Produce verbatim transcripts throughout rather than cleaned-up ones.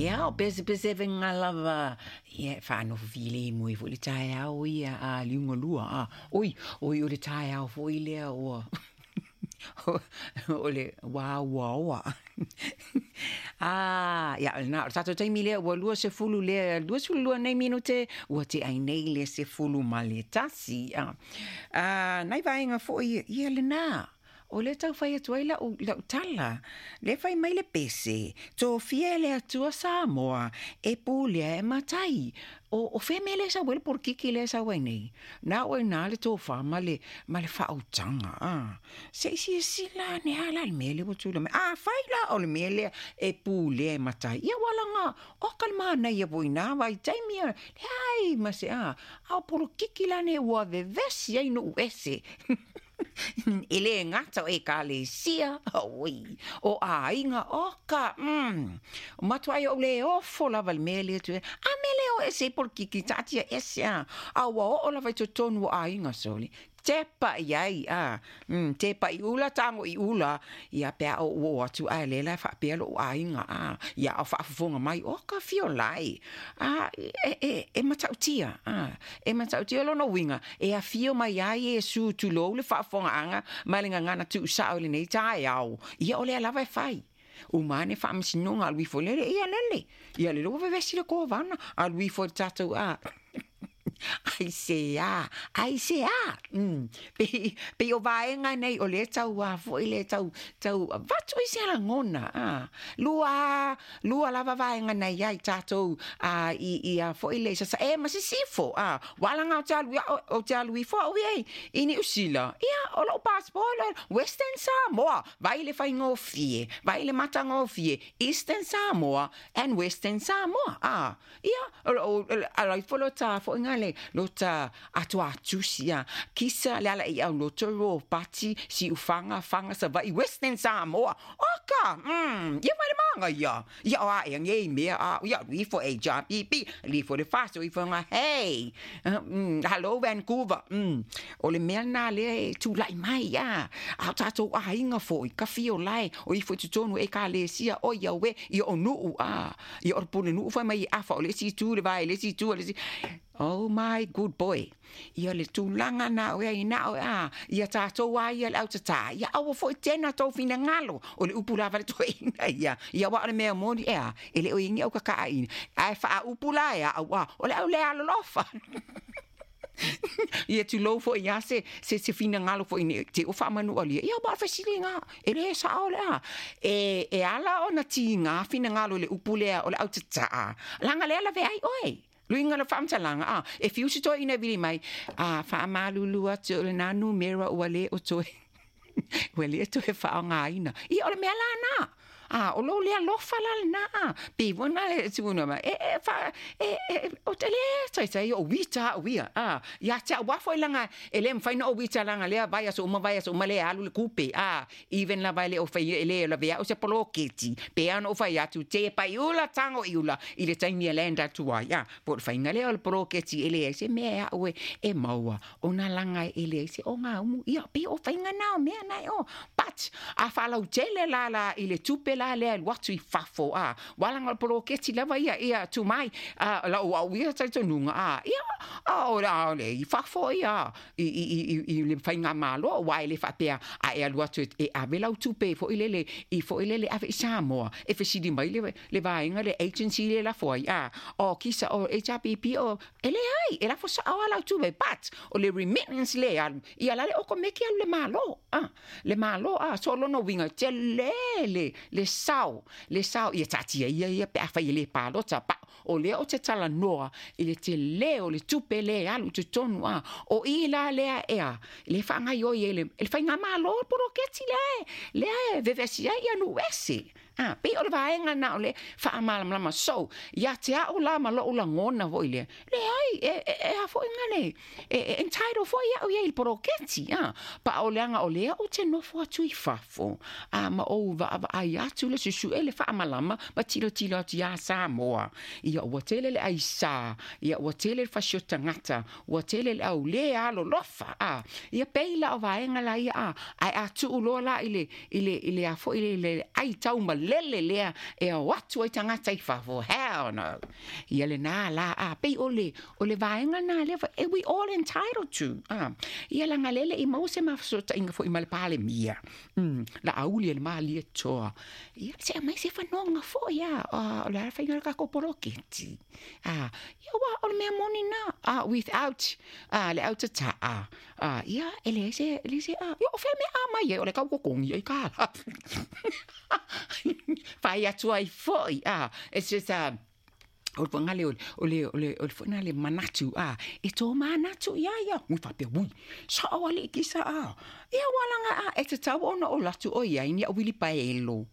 Ia, o pesepesevega lava, ia e faanofo filemu ai foi le taeao ia a liugalua a. Oi, oi o le taeao foi lea ua o le uauaoa. Ah, ia, na, o le tatou taimi lea ua lua sefulu lea, lua sefulu lua nei minute, ua tea ai nei le sefulu ma le tasi. Ah, ah, nai vaega foi, ia lena. O lea tau fai atu ai lau, lau tala. Le fai mai le pese, tofia e le Atua Samoa, e pulea e matai. O, o fea mea lea e sau ai le polokiki lea e sau ai nei. Na o i ina le tofa ma le, ma le faautaga. Ah. Se i silasila ane lava la i le mea lea ua tulai mai. Afai la o le mea lea e pulea e matai, ia ua laga oka le manaia foi i na vaitaimi, leai ma se a. A o polokiki la nei ua vevesi ai nuu ese. E le gata o ekalesia, oi, o aiga, oka, mm, o matuai ou le ofo lava i le mea lea tu. A mea lea o ese i polokiki, taatia ese a. A ua oo lava i totonu o aiga sole. Tepa i ai, a, mm, tepa i ula, tago i ula, ia pe a ou oo atu ae lea la e faapea lou aiga, a, ia o faafofoga mai, oka fiolai, a, e, e, e matautia, a, e matautia lona uiga, e afio mai ai Iesu, tulou le faafofogaaga ma le gagana tuusao i lenei taeao, ia o lea lava e fai. Uma ane faamasinoga alu ifo lele, ia lele, ia lele ua vevesi le kovana, alu ifo i le tatou, a, aisea, aisea, mm. Pei, pei o vaega nei o lea tau a foi le tau, tau avatu ai se lagona, a. Lua, lua lava vaega nei ai tatou, a, i, i a foi le Sasae ma Sisifo, a. Ua alaga ou te alu, ou te alu ifo au i, i Niu Sila, ia, o lou passport, Western Samoa, vai le faigofie, vai le matagofie, Eastern Samoa and Western Samoa, a. Ia, o, o, ala ifo lo ta foi ngale, lo ta atoatusi, a. Kisa le ala i au loto ro pati, si ufanga, fanga sa vai Western Samoa. Oka, mm, ia vai le manga ia. Ia o a e ngei mea, a, ia alu ifo H R P P, alu ifo le faso ifo nga, hey, mm, hello Vancouver, mm. O le mea na lea e tulai mai, a. A o tatou aiga foi, ka fio lae, o ifo i totonu e ekalesia, o ia we, ia o nuu, a. Ia o le pule nuu fai mai i afa, o le isi itu le vae, le isi itu, le isi. Oh my good boy. Ia le tulaga na o ia na o a. Ia tatou a ia le au tata. Ia aua foi tena tou finagalo. O le upu lava le toeaina ia. Ia ua o le mea moni ea. E le o ingi au kakaa ina. Ae faa upu la ea au a. O le au le alolofa. Ia tulou foi ia se, se, se finagalo foi ne, te o faamanua lia. Ia ua fesiliga. E le sao le a. E, e ala ona tiga finagalo le upu lea o le au tataa. Laga lea lave ai oe. Luiga le faamatalaga, a, e fiu se toeaina e vili mai, a, faamalulu atu o lena numera ua le o toe, ua le toe faaaogaina. Ia o le mea la na. A, o lou le alofa la lena, a. Pe foi na le tuna mai, e, e, fa, e, e, o te le taitai o uita au ia, a. Ia te au afo i langa, e le mawhai na o uita langa lea, vai aso uma, vai aso uma le alu le kupe, a. Even la vai le o whai e le la vea o se poloketi, pe ana o whai atu, te pai ula, tango i ula, i le taimi e land atu ai, a. Po le whainga lea o le poloketi e le ai se mea au e, e maua, o nā langa e le ai se o ngā umu, ia, pe o whainga nā o mea nai o. But, a whalau tele la la i le tupe la lea alu atu i fafo, a. Wala ngā poloketi lava ia, ia, tu mai, a, la o au ia talitonuga, a. Ia, a, o la, o le, i fafo ia, i, i, i, i, i le whainga malo, wa e le whapea, a e alu atu e, e ave lau tupe, fo i lele, i fo i lele ave i Samoa, e fesili mai le, le vaenga, le agency le la foi, a. O kisa, o H R P P, o, e le ai, e la fo sa o lau tupe, but, o le remittance le alu, ia la le oko meki alu le malo, a. Le malo, a, so lono winga, te le, le, le sao, le sao, ia tatia ia, ia, pe a whai le palota, pa, o lea o te tala noa, i le te leo, le tupe le alu te tonu, a, o i la lea ea, le whangai oi e le, e le whainga malo, poroketi lea e, lea e, vevesi ai ia nu ese. Ah, pe o le vaenga na o le faamalamalama. So, ia te au la ma lou lagona foi lea. Leai, e, e, e a foi ngale. E, e entitled foi au ia i le poloketi. Ah, pa o leaga o lea o te nofo atu i fafo. Ah, ma ou vaavaai atu le susu'e le faamalama ma tilotilo atu iā Samoa. Ia ua tele le aisā, ia ua tele le fasio tagata, ua tele le au le alolofa. Ah, ia pei la o vaega la ia, ah, ae a tuu loa la i le, i le, i le a foi le, le ai tau ma lele lea e o atu ai tagata i fafo, hell no. Ia lenā la a pei o le o le vaega na lea e we all entitled to. A ia laga lele i maua se mafesootaiga foʻi ma le Palemia, mm, la auli e le malie toa. Ia se aumai se fanoga foʻi a o le a faiga le takou poloketi. A ia ua o le mea moni na a without a le autatā a ia e leai se e se a ia o fea mea a mai ai o le kaukokogi ai ka fai atu ai foʻi a it's just uh, o le fogale o le o le o le foʻi le manatu a e tō manatu ia ia ui faapea ui saʻo alii kisa a ia ua laga a e tatau ona o latu o iai ni au wilipaelo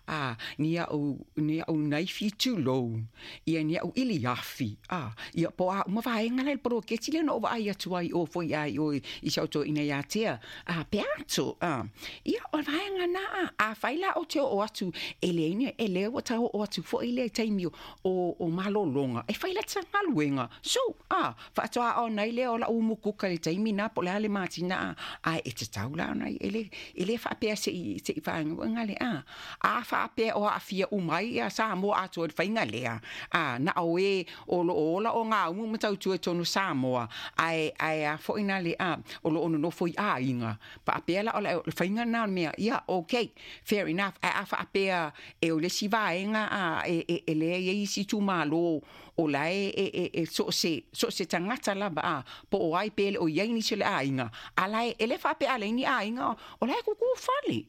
a ni au ni au naifi tulou ia ni au ili afi a ia po a uma vaega le poloketi le no vaai atu ai o foi ai o i sau to ina ia tea a pe atu a ia o vaega na a a fai la o te o atu e le ina e le o tau o atu foi le taimi o o malologa e fai la tagaluega so a faatoa ona i lea o lau mukuka le taimi na po le ale matina a e te tau la ona e le e le faapea se i se i vaega le a a faapea o aafia uma ai ia Samoa atoa i le faiga lea a na o e o loo ola o gaumu ma tautua i tonu Samoa ae ae a foʻi na le a o loo nonofo i aiga faapea la o le faiga na o le mea ia okay fair enough ae a faapea e o le isi vaega a e e e lea iai isi itumālō o la e e e e so se so se tagata lava a po o ai pe le o iai nisi o le aiga a la e le faapea a leai ni aiga o la e kukū fale.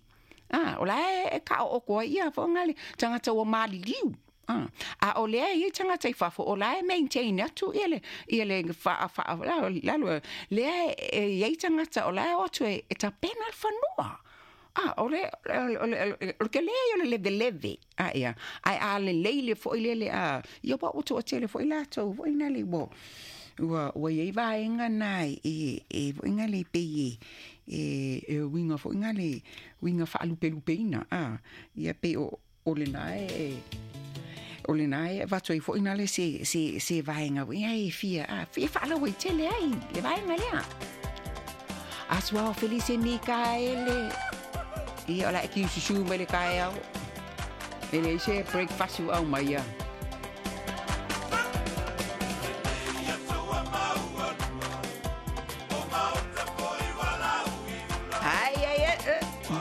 A o la e ka o ko ia fo ngale tagata ua maliliu. A a o lea ia tagata i fafo o la e maintain atu ia le ia le fa fa la la lea e ia tagata o la e o atu e e tapena le fanua. A o le o le o le ke lea o le leveleve a ia ai a le leile foʻi le le a ia ua ua toatele foʻi latou foʻi na le ua ua ua iai vaega na e e foʻi na le pei e e e uiga foʻi na le uiga faalupelupeina a ia pei o o lenā e o lenā e avatu ai foʻi na le se se se vaega ia e fia a fia faalauaitele ai le vaega lea Asuao Felice Mikaele ia o la e kiususu mai le taeao e leai se breakfast ua aumai ia.